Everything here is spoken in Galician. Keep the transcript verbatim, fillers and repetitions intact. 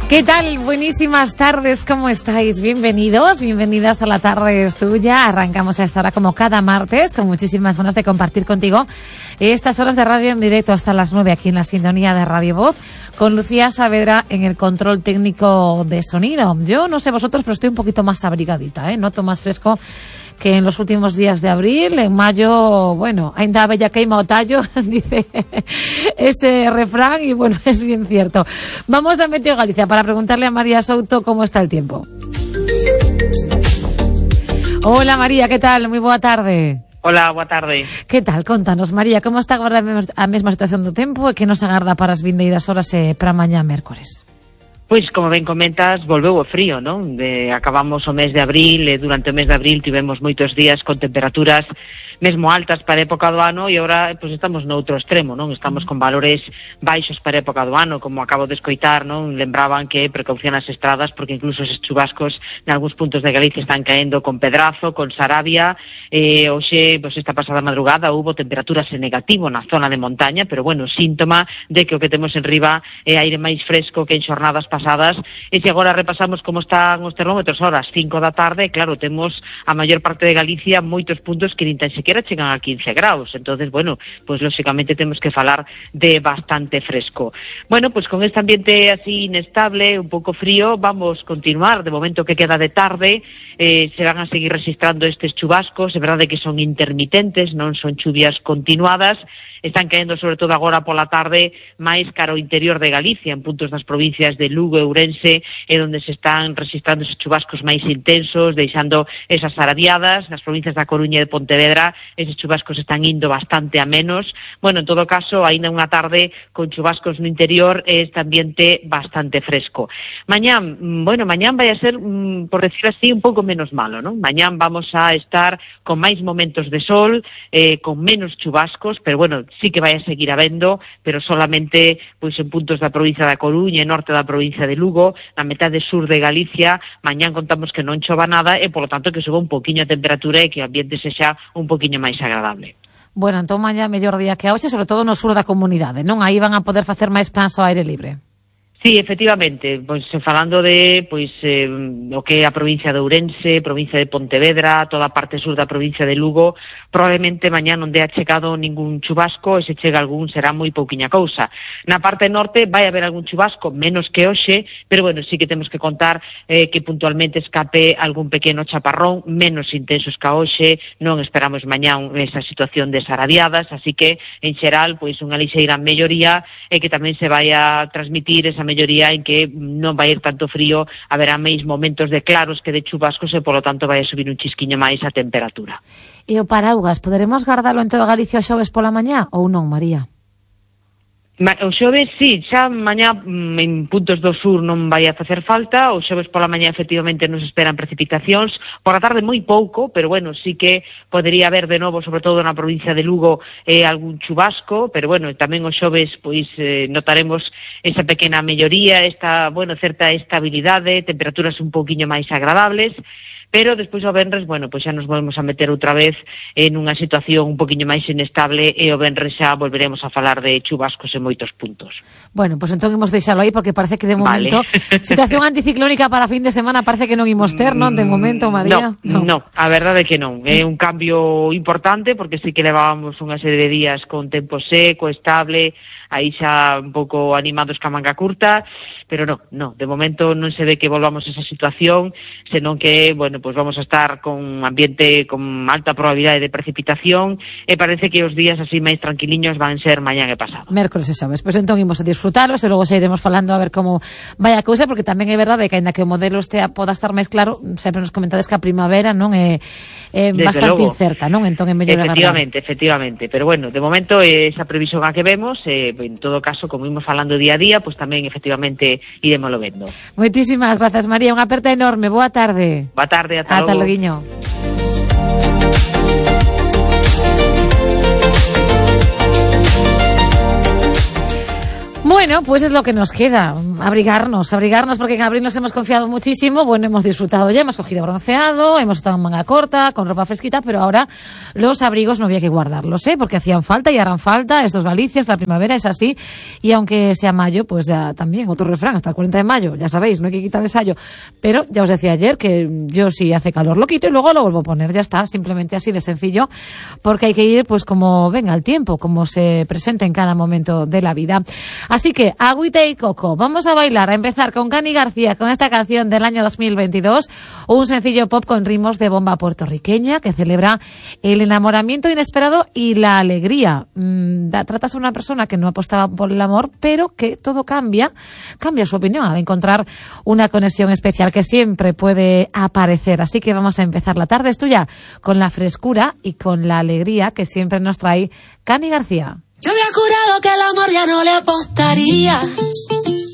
¿Qué tal? Buenísimas tardes, ¿cómo estáis? Bienvenidos, bienvenidas a La Tarde es Tuya. Arrancamos a esta hora como cada martes, con muchísimas ganas de compartir contigo estas horas de radio en directo hasta las nueve aquí en la sintonía de Radio Voz, con Lucía Saavedra en el control técnico de sonido. Yo no sé vosotros, pero estoy un poquito más abrigadita, ¿eh? Noto más fresco que en los últimos días de abril. En mayo, bueno, ainda bella queima o tallo, dice ese refrán, y bueno, es bien cierto. Vamos a Meteo Galicia para preguntarle a María Souto cómo está el tiempo. Hola María, ¿qué tal? Muy boa tarde. Hola, boa tarde. Que tal? Contanos, María, como está agora a mesma situación do tempo e que nos agarda para as vindeiras horas e para mañá mércores? Pois, como ben comentas, volveu o frío, non? De, acabamos o mes de abril e durante o mes de abril tivemos moitos días con temperaturas mesmo altas para a época do ano e agora pois, estamos no outro extremo, non? Estamos con valores baixos para a época do ano, como acabo de escoitar, non? Lembraban que precaución as estradas porque incluso eses chubascos en algúns puntos de Galicia están caendo con Pedrazo, con Sarabia. Eh, hoxe, pois, esta pasada madrugada hubo temperaturas en negativo na zona de montaña, pero bueno, síntoma de que o que temos en riba é aire máis fresco que en xornadas pasadas. E se agora repasamos como están os termómetros ahora ás cinco da tarde, claro, temos a maior parte de Galicia moitos puntos que nin tan sequera chegan a quince graus. Entonces, bueno, pues lógicamente temos que falar de bastante fresco. Bueno, pues con este ambiente así inestable, un pouco frío, vamos continuar. De momento que queda de tarde, eh, se van a seguir registrando estes chubascos. É verdade que son intermitentes, non son chuvias continuadas. Están caendo sobre todo agora pola tarde máis cara ao interior de Galicia, en puntos das provincias de Lugo e Ourense, é onde se están registrando esos chubascos máis intensos, deixando esas arabiadas. Nas provincias da Coruña e de Pontevedra, eses chubascos están indo bastante a menos. Bueno, en todo caso, aínda unha tarde con chubascos no interior e este ambiente bastante fresco. Mañán, bueno, mañán vai a ser, por decir así, un pouco menos malo, non? Mañán vamos a estar con máis momentos de sol, eh, con menos chubascos, pero bueno, sí que vai a seguir habendo, pero solamente pois en puntos da provincia da Coruña e norte da provincia de Lugo, na metade sur de Galicia. Mañán contamos que non chova nada e, polo tanto, que suba un poquinho a temperatura e que o ambiente sexa un poquinho máis agradable. Bueno, entón mañá mellor día que hoxe, sobre todo no sur da comunidade, non? Aí van a poder facer máis plans ao aire libre. Sí, efectivamente, pois falando de pois eh, o que é a provincia de Ourense, provincia de Pontevedra, toda a parte sur da provincia de Lugo, probablemente mañá non dea chegado ningún chubasco, e se chega algún será moi pouquiña cousa. Na parte norte vai haber algún chubasco, menos que hoxe, pero bueno, sí que temos que contar eh, que puntualmente escape algún pequeno chaparrón, menos intensos que a hoxe. Non esperamos mañá esa situación de sarabiadas, así que en xeral pois unha lixeira melloría e que tamén se vai a transmitir esa melloría en que non vai ir tanto frío, haberá máis momentos de claros que de chubascos e, polo tanto, vai a subir un chisquiño máis a temperatura. E o paraugas, poderemos guardalo en toda Galicia o xoves pola mañá ou non, María? O xoves, sí, xa mañá en puntos do sur non vai a facer falta. O xoves pola mañá efectivamente nos esperan precipitacións, por a tarde moi pouco, pero bueno, sí que podería haber de novo, sobre todo na provincia de Lugo, eh, algún chubasco, pero bueno, tamén o xoves pois eh, notaremos esa pequena melloría, esta, bueno, certa estabilidade, temperaturas un pouquiño máis agradables. Pero despois o venres, bueno, pois xa nos volvemos a meter outra vez en unha situación un poquinho máis inestable e o venres xa volveremos a falar de chubascos en moitos puntos. Bueno, pois pues entón imos deixalo aí porque parece que de momento vale. Situación anticiclónica para fin de semana parece que non imos ter, non? De momento, María. No, no, no, a verdade é que non. É un cambio importante porque sí que levábamos unha serie de días con tempo seco, estable, aí xa un pouco animados ca manga curta, pero non, non, de momento non se ve que volvamos a esa situación, senón que, bueno, pues vamos a estar con ambiente con alta probabilidade de precipitación e parece que os días así máis tranquiliños van ser mañán e pasado. Mércoles e xoves, pois entón imos a disfrutalos e logo xa iremos falando a ver como vai a cousa, porque tamén é verdade que aínda que o modelo estea poda estar máis claro, sempre nos comentades que a primavera non é, é bastante logo incerta, non? Entón é mellor agarrar. Efectivamente, efectivamente, pero bueno, de momento esa previsión a que vemos, eh, en todo caso, como imos falando día a día, pues tamén efectivamente iremoslo vendo. Moitísimas grazas, María, unha aperta enorme, boa tarde. Boa tarde. Ata, Ata loguiño. Bueno, pues es lo que nos queda, abrigarnos, abrigarnos, porque en abril nos hemos confiado muchísimo, bueno, hemos disfrutado ya, hemos cogido bronceado, hemos estado en manga corta, con ropa fresquita, pero ahora los abrigos no había que guardarlos, ¿eh? Porque hacían falta y harán falta, estos Galicias, la primavera es así, y aunque sea mayo, pues ya también, otro refrán, hasta el cuarenta de mayo, ya sabéis, no hay que quitar el sayo, pero ya os decía ayer que yo si hace calor lo quito y luego lo vuelvo a poner, ya está, simplemente así de sencillo, porque hay que ir pues como venga el tiempo, como se presente en cada momento de la vida. Así que, agüita y coco, vamos a bailar, a empezar con Cani García, con esta canción del año dos mil veintidós, un sencillo pop con ritmos de bomba puertorriqueña que celebra el enamoramiento inesperado y la alegría. Mm, da, tratas a una persona que no apostaba por el amor, pero que todo cambia, cambia su opinión al encontrar una conexión especial que siempre puede aparecer. Así que vamos a empezar la tarde, es tuya, con la frescura y con la alegría que siempre nos trae Cani García. Yo había jurado que el amor ya no le apostaría.